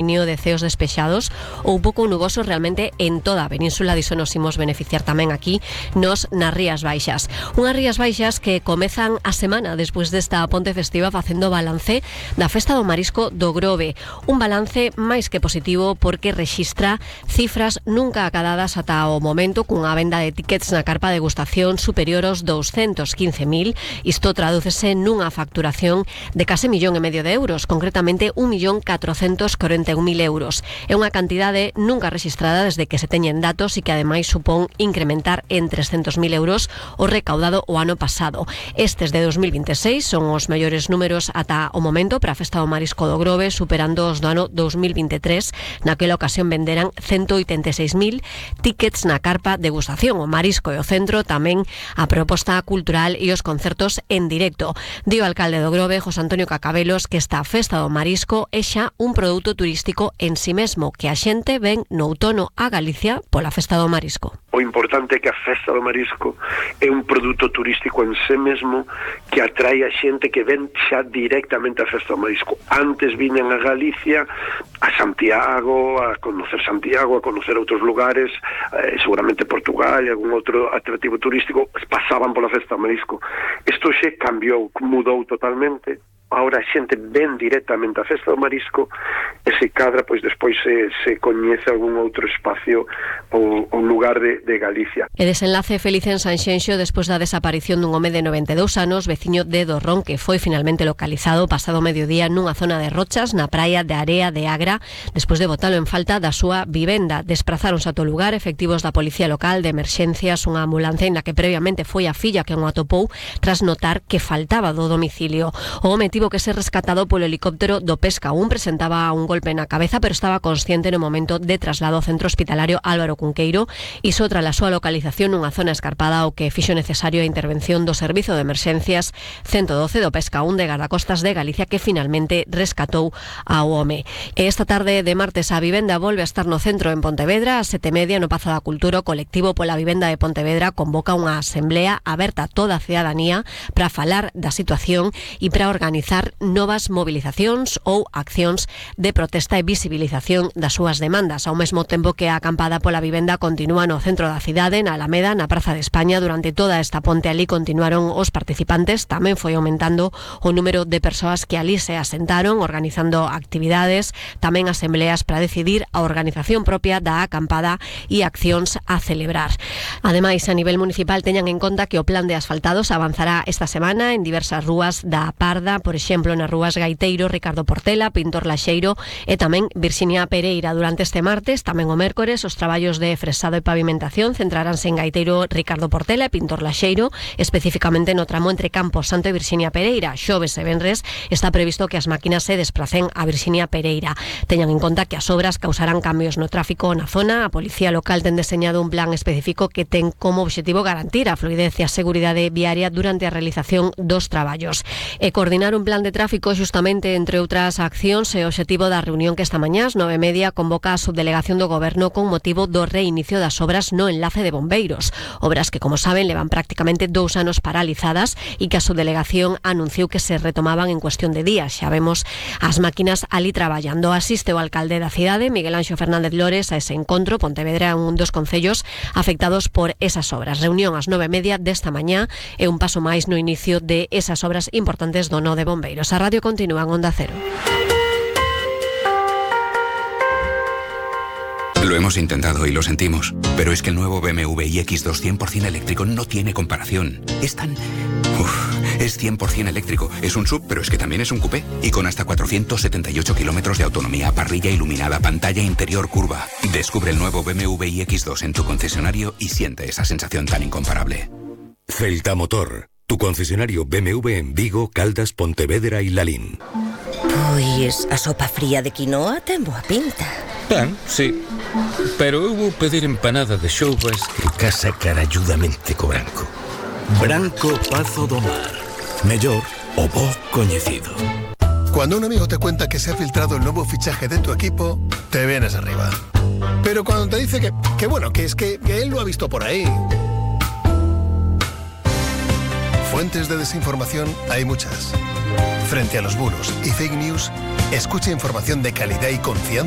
de ceos despexados ou pouco nuboso realmente en toda a península. Diso nos imos beneficiar tamén aquí nas Rías Baixas. Unhas Rías Baixas que comezan a semana despois desta ponte festiva facendo balance da Festa do Marisco do Grove. Un balance máis que positivo porque rexistra cifras nunca acadadas ata o momento, cunha venda de tickets na carpa de degustación superior aos 215.000. Isto tradúcese nunha facturación de case 1,5 millón de euros, concretamente 1.441.000 euros. É unha cantidade nunca rexistrada desde que se teñen datos e que ademais supón incrementar en 300.000 euros o recaudado o ano pasado. Estes de 2026 son os mellores números ata o momento para a Festa do Marisco do Grove, superando os do ano 2023. Naquela ocasión venderan 186.000 tickets na carpa degustación. O marisco e o centro, tamén a proposta cultural e os concertos en directo. Di o alcalde do Grove, José Antonio Cacabelos, que esta Festa do Marisco é xa un produto turístico en si mesmo, que a xente ven no outono a Galicia pola Festa do Marisco. O importante é que a Festa do Marisco é un produto turístico en sí mesmo que atrae a xente que ven xa directamente a Festa do Marisco. Antes viñan a Galicia, a Santiago, a conocer outros lugares, seguramente Portugal e algún outro atractivo turístico, pasaban pola Festa do Marisco. Isto xe cambiou, mudou totalmente. Ahora a xente ven directamente a Festa do Marisco e se cadra, pois despois se coñece algún outro espacio ou lugar de Galicia. E desenlace feliz en Sanxenxo despois da desaparición dun home de 92 anos, veciño de Dorrón, que foi finalmente localizado pasado mediodía nunha zona de rochas na praia de Area de Agra, despois de botalo en falta da súa vivenda. Desprazáronse ata o lugar efectivos da Policía Local, de Emerxencias, unha ambulancia na que previamente foi a filla que o atopou tras notar que faltaba do domicilio. O home tivo que ser rescatado polo helicóptero do Pesca 1, presentaba un golpe na cabeza, pero estaba consciente no momento de traslado ao centro hospitalario Álvaro Cunqueiro, e só tras a súa localización nunha zona escarpada o que fixo necesario a intervención do Servizo de Emerxencias 112 do Pesca 1 de Gardacostas de Galicia, que finalmente rescatou ao home. E esta tarde de martes a vivenda volve a estar no centro en Pontevedra. A 7:30 no Pazo da Cultura, o colectivo pola vivenda de Pontevedra convoca unha asamblea aberta a toda a cidadanía para falar da situación e para organizar novas movilizacións ou accións de protesta e visibilización das súas demandas, ao mesmo tempo que a acampada pola vivenda continúa no centro da cidade, na Alameda, na Praza de España. Durante toda esta ponte ali continuaron os participantes, tamén foi aumentando o número de persoas que ali se asentaron, organizando actividades, tamén asambleas para decidir a organización propia da acampada e accións a celebrar. Ademais, a nivel municipal teñan en conta que o plan de asfaltados avanzará esta semana en diversas rúas da Parda, por exemplo, nas rúas Gaiteiro, Ricardo Portela, Pintor Laxeiro e tamén Virxinia Pereira. Durante este martes, tamén o mércores, os traballos de fresado e pavimentación centraránse en Gaiteiro, Ricardo Portela e Pintor Laxeiro, especificamente no tramo entre Campos Santo e Virxinia Pereira. Xoves e venres está previsto que as máquinas se despracen a Virxinia Pereira. Teñan en conta que as obras causarán cambios no tráfico na zona. A Policía Local ten deseñado un plan específico que ten como objetivo garantir a fluidez e a seguridade viaria durante a realización dos traballos. E coordinar un plan de tráfico xustamente entre outras accións é o objetivo da reunión que esta mañá ás 9:30 convoca a subdelegación do Goberno con motivo do reinicio das obras no enlace de bombeiros. Obras que, como saben, levan prácticamente 2 anos paralizadas e que a subdelegación anunciou que se retomaban en cuestión de días. Xa vemos as máquinas ali traballando. Asiste o alcalde da cidade, Miguel Anxo Fernández Lores, a ese encontro. Pontevedra é un dos concellos afectados por esas obras. Reunión ás 9:30 desta mañá é un paso máis no inicio de esas obras importantes do nó de bombeiros. A radio continúa en Onda Cero. Lo hemos intentado y lo sentimos, pero es que el nuevo BMW iX2 100% eléctrico no tiene comparación. Es tan... es 100% eléctrico. Es un SUV, pero es que también es un coupé. Y con hasta 478 kilómetros de autonomía, parrilla iluminada, pantalla interior curva. Descubre el nuevo BMW iX2 en tu concesionario y siente esa sensación tan incomparable. Celta Motor, tu concesionario BMW en Vigo, Caldas, Pontevedra y Lalín. Pois a sopa fría de quinoa ten boa pinta. Ben, sí. Pero eu vou pedir empanada de xoubas que casa caralludamente co branco. Branco Pazo do Mar. Mellor o bo coñecido. Cuando un amigo te cuenta que se ha filtrado el nuevo fichaje de tu equipo, te vienes arriba. Pero cuando te dice que bueno, que es que él lo ha visto por ahí. Fuentes de desinformación hay muchas. Frente a los bulos y fake news, escucha información de calidad y confianza